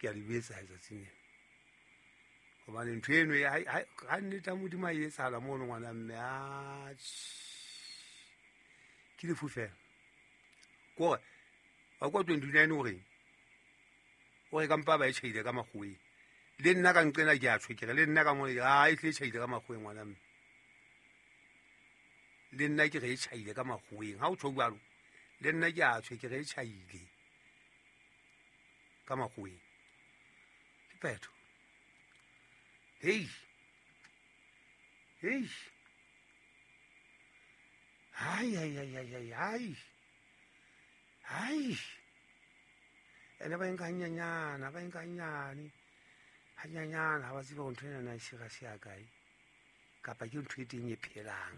Ke a le betsa letsatsing lena. Hobane ntho eno ya ha nnete ya Modimo a e etsahala mono ngwana mme a ke lefu fela. Kore wa kwa 29 o reng? O re ka mpa ba e tjhaile ka makgoweng. Le nna ka nqena ke a tjho ke re le nna ka mona ke a e tle e tjhaile ka makgoweng ngwana mme. Le nna ke re e tjhaile ka makgoweng. Ha o tjho jwalo le nna ke a tjho ke re e tjhaile ka makgoweng. Ke phetho. Hei. Hei. Hai hai hai hai hai hai. Hai. Ene ba nka hanyenyana, ba nka hanyane. Hanyenyana ha ba tsebe hore ntho ena na e serious ya kae. Kapa ke ntho e teng e phelang.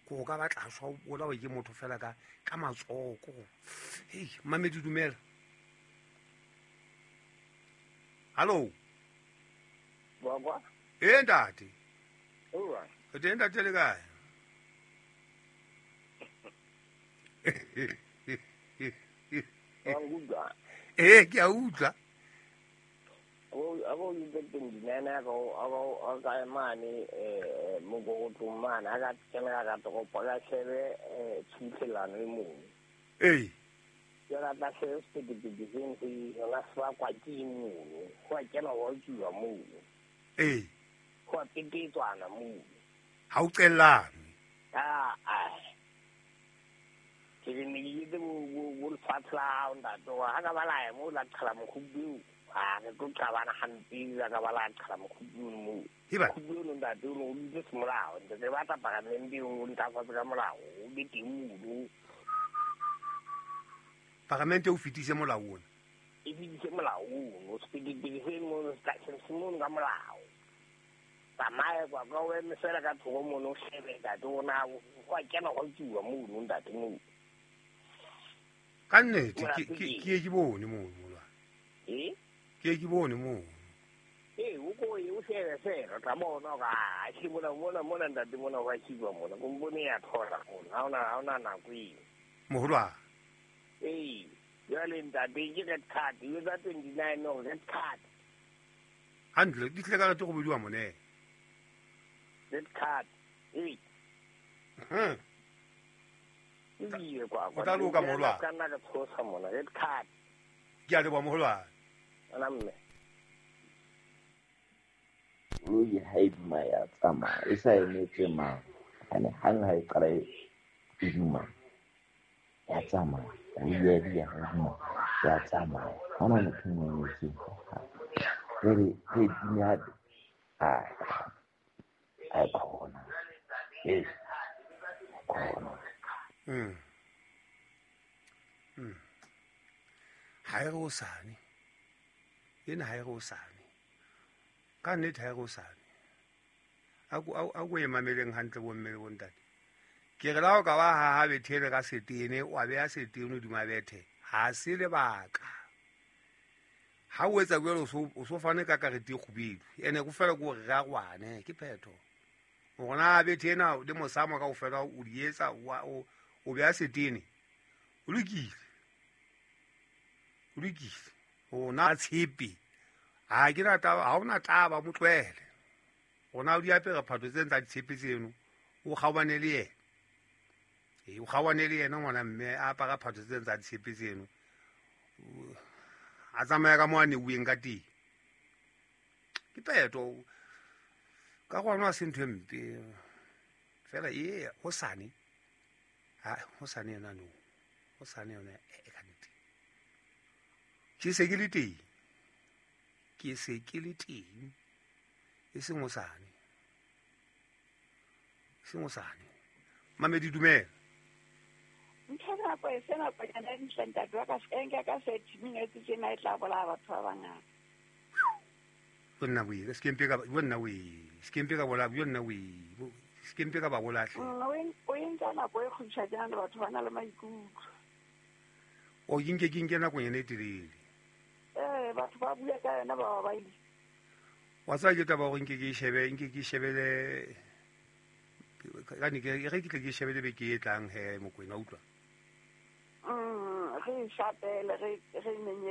Ko o ka batla shwa o bolawe ke motho fela ka ka matsoho ko. Hei, mamedi dumela. Hallo. Baba. Eh ntate. Ora. Re teng ntate le kae? Wa nkutlwa? Eh ke a utlwa. Abo itse 29 a ka a ka mane eh mogogotlong mane a ka kena ka toropo ka shebe tshuthelano e mono. Ee. Jwale a tla shebe sephethephethe seno se yona se bakwa ke eng mono. Ho a kena ho a tsuwa mono. Ee. Ho a petetswana mono. Ha o qellane. Ah, ah. Ke re ne ke etse bo lefatshe la hao ntate wa ha ka ba la ya moo la qhala mokgubu eo. Ha re tlo qabana hampe la ka ba la qhala mokgubu ono moo. Heba. Mokgubu ono ntate ono o dutse semolao. Ntate re batla paramente eo o ntlafatse ka molao o be teng mono. Paramente o fetise molao ona. E fetise molao ono. Sephethephethe se mono se tla se mono ka molao. Tsamaya kwa ka o eme fela ka thoko mono o shebe ntate o na go a kena go tsuwa mono ntate moo. Ka nnete ke ke ke bone mono molwana. Eh? Ke ke bone mono. Ee, o ko ye o shebe fela o tla bona hore a ke mona mona mona ntate mona ho a tsuwa mona. Kompone ya thola mona. Ha ona nako eo. Moholwane. Ee, jwale ntate ke red card, e etsa 29 hore red card. Hantle, di tlile ka rete go bodiwa mone. Red card. Ee. Ebile kwa O tla loka moholwane. Ka nna ka tshosa mona red card. Ke a leboha moholwane. Ana mme. Koloi ha e duma ya tsamaya e sa emetse mang. Ane hang ha e qala e duma ya tsamaya. Koloi ya di ya duma ya tsamaya. Ha hona motho e mong e emetseng. Jwale re dume hape. Ai khona. Ee. Khona. Ha e re hosane. Ena ha e re hosane. Ka nnete ha e re hosane. A ko e mameleng hantle bo mme le bo ntate. Ke re la ho ka ba haha bethele ka setene, wa beha setene hodima bethe. Ha se lebaka. Ha o etsa jwalo o so fane ka karete e kgubedu. Ene go fela ke hore re arwane, ke phetho. Hore na bethe ena le mosamo kaofela o di etsa o beha setene. O lokile. O lokile. Rona tshepe. Ha ke na taba, ha hona taba mo tlohele. Rona o di apere phatho tse tsa ditshepe tseno, o kgaohane le yena. Ee, o kgaohane le yena ngwana mme a apara phatho tse tsa ditshepe tseno. A tsamaya ka mo a neuweng ka teng. Ke phetho. Ka gona ha se ntho e mpe. Fela ee, hosane. Ha hosane yona no. Hosane yona e ka nnete. Ke se ke le teng. Ke se ke le teng. E seng hosane. E seng hosane. Mamedi dumela. Ntho nako e sena konyana e ntle ntate wa ka se nka ka 30 minutes tjena e tla bolaya batho ba bangata. Bonna we, se kempe ka bonna we, se kempe ka bola bonna we, se kempe ka ba bolahle. O entsa nako e kgutshwanyane le batho ba na le maikutlo. O ke nke nako nyana e telele. Eh, batho ba bua ka yona ba ba ile. Wa tseba ke taba hore nke ke shebe, nke ke shebele ka ne ke re ke tle ke shebele beke e tlang he Mokwena utlwa. Re shapele re re nenyele.